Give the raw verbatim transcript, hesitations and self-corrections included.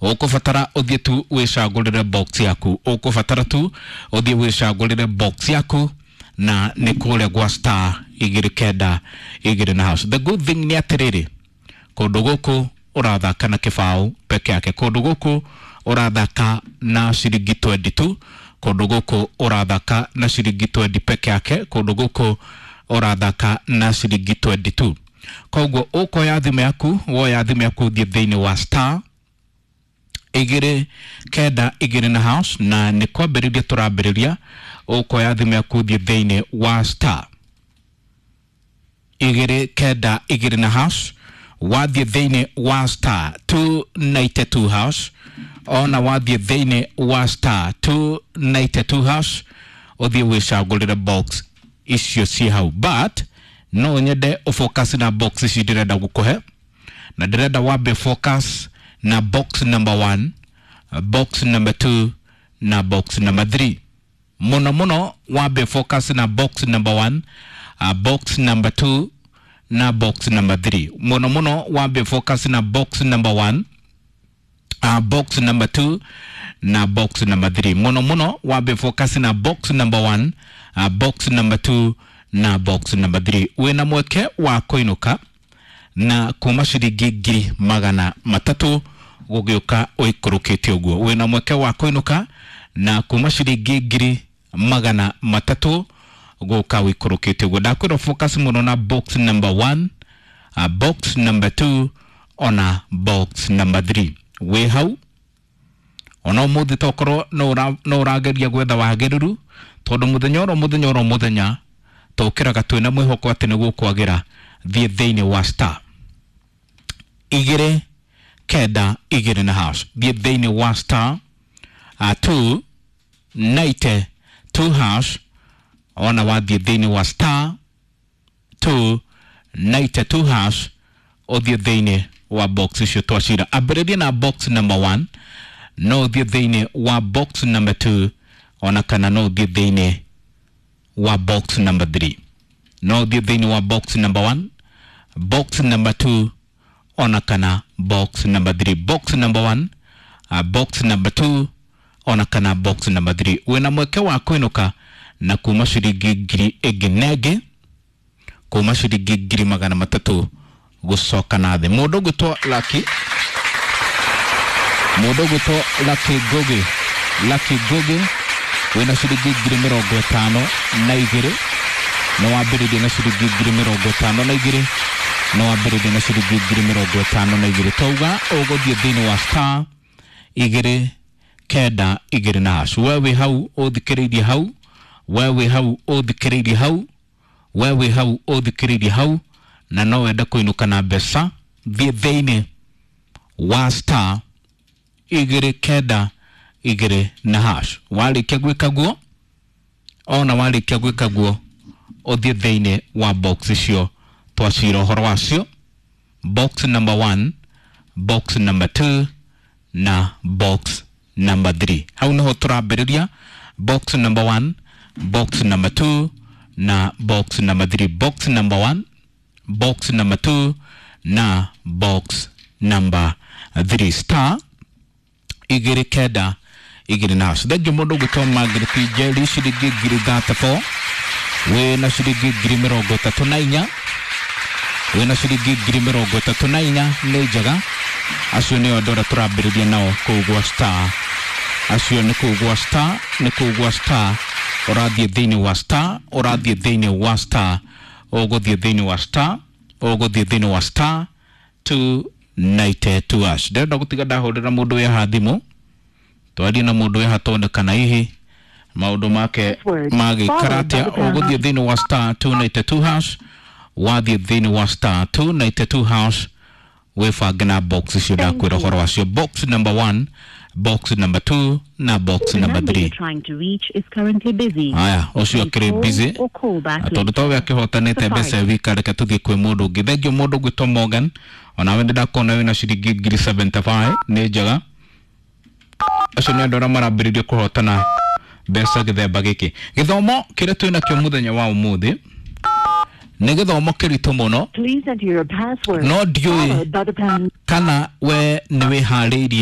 Ũkũbatara ũthiĩ tu wĩcagũrĩre box yaku, ũkũbatara tu ũthiĩ wĩcagũrĩre box yaku, na nĩ kũrĩa gwa star igĩrĩ kenda igĩrĩ na hash. The good thing nĩ atĩrĩrĩ, kũndũ gũkũ ũrathaka na kĩbaũ peke yake, kũndũ gũkũ ũrathaka na ciringi twenty tu, kũndũ gũkũ ũrathaka na ciringi twenty peke yake, kũndũ gũkũ ũrathaka na ciringi twenty tu. Koguo ũkoya thimũ yaku, woya thimũ yaku ũthiĩ thĩinĩ wa star igĩrĩ kenda igĩrĩ na hash, na nĩ kwambĩrĩria tũrambĩrĩria. Ũkoya thimũ yaku ũthiĩ thĩinĩ wa star igĩrĩ kenda igĩrĩ na hash. Wathiĩ thĩinĩ wa star two ninety two hash, ona wathiĩ thĩinĩ wa star two ninety two hash, ũthiĩ wĩcagũrĩre box icio ciĩ hau. But no nyende ũfocus na box ici ndĩrenda gũkũhe, na ndĩrenda wambe focus na box number one, box number two na box number three. Mũno mũno wambe focus na box number one, uh, box number two na box number three. Mũno mũno wambe focus na box number one, uh, box number two na box number three. Mũno mũno wambe focus na box number one, uh, box number two na box number three. Wĩna mweke wa kũinũka na kuma ciringi ngiri magana matatũ gũgĩũka ũikũrũkĩte ũguo. Wĩna mweke wa kũinũka na kuma ciringi ngiri magana matatũ gũka ũikũrũkĩte ũguo. Ndakwĩra focus mũno na box number one, uh, box number two ona box number three. Wĩ hau ona ũmũthĩ tokorwo no ũrageria gwetha wagĩrĩru, tondũ mũthenya oro mũthenya oro mũthenya tũkĩraga twĩna mwĩhoko atĩ nĩ gũkwagĩra. Thiĩ thĩinĩ wa star igĩrĩ kenda igĩrĩ na hash, thiĩ thĩinĩ wa star uh, two ninety two hash. Ona wathiĩ thĩinĩ wa star two ninety two hash, ũthiĩ thĩinĩ wa box icio twacira. Ambĩrĩria na box number one, no ũthiĩ thĩinĩ wa box number two, ona kana no ũthiĩ thĩinĩ wa box number three. No ũthiĩ thĩinĩ wa box number one, box number two, ona kana box number three. Box number one, uh, box number two, ona kana box number three. Wĩna mweke wa kũinũka na kuma ciringi ngiri ĩngĩ na ĩngĩ, kuma ciringi ngiri magana matatũ gũcoka na thĩ. Mũndũ ũgwĩtwo Lucky, mũndũ ũgwĩtwo Lucky Ngugi, Lucky Ngugi wĩna ciringi ngiri mĩrongo ĩtano na igĩrĩ, nĩ wambĩrĩria na ciringi ngiri mĩrongo ĩtano na igĩrĩ, nĩ wambĩrĩria na ciringi ngiri mĩrongo ĩtano na igĩrĩ. Twauga ũgũthiĩ thĩinĩ wa star igĩrĩ kenda igĩrĩ na hash. We wĩ hau ũthikĩrĩirie hau, we wĩ hau ũthikĩrĩirie hau, we wĩ hau ũthikĩrĩirie hau, na no wende kũinũka na mbeca, thiĩ thĩinĩ wa star igĩrĩ kenda igĩrĩ na hash. Warĩkia gwĩka guo, ona warĩkia gwĩka guo, ũthiĩ thĩinĩ wa box icio twacira ũhoro wacio, box number one, box number two na box number three. Hau niho tũrambĩrĩria, box number one, box number two na box number three. Box number one, box number two na box number three. Star igĩrĩ kenda igĩrĩ na hash. Thengiũ mũndũ ũgwĩtwo Margaret Njeri, ciringi ngiri thirty four, wĩna ciringi ngiri mĩrongo ĩtatũ na inya, wĩna ciringi ngiri mĩrongo ĩtatũ na inya, nĩ njega. Acio nĩo andũ arĩa tũrambĩrĩria nao kũu gwa star, acio nĩ kũu gwa star, nĩ kũu gwa star. Ũrathiĩ thĩinĩ wa star, ũrathiĩ thĩinĩ wa star, ũgũthiĩ thĩinĩ wa star, ũgũthiĩ thĩinĩ wa star two ninety two hash. Ndĩrenda gũtiga ndahũrĩra mũndũ wĩ haha thimũ, twarie na mũndũ wĩ haha tuone kana hihi maũndũ make magĩikara atĩa. Ũgũthiĩ thĩinĩ wa star two ninety two hash, wathiĩ thĩinĩ wa star two ninety two hash, wĩbange na box icio ndakwĩra ũhoro wacio, box number one, box number two na box The number number three. you're trying to reach is currently busy. Aya, ũcio Please akĩrĩ call busy or call back tondũ later. towe akĩhotanĩte mbeca wika, reke tũthiĩ kwĩ mũndũ ũngĩ. Thengiũ mũndũ ũgwĩtwo Morgan, onawe nĩ ndakuona wĩna ciringi ngiri seventy five, nĩ njega. Acio nĩ andũ arĩa marambĩrĩria kũhotana mbeca gĩthemba gĩkĩ. Gĩthomo kĩrĩa twĩ nakĩo mũthenya wa ũmũthĩ nĩ gĩthomo kĩritũ mũno, Please enter your password no ndiũĩ followed by the pound kana we nĩ wĩharĩirie.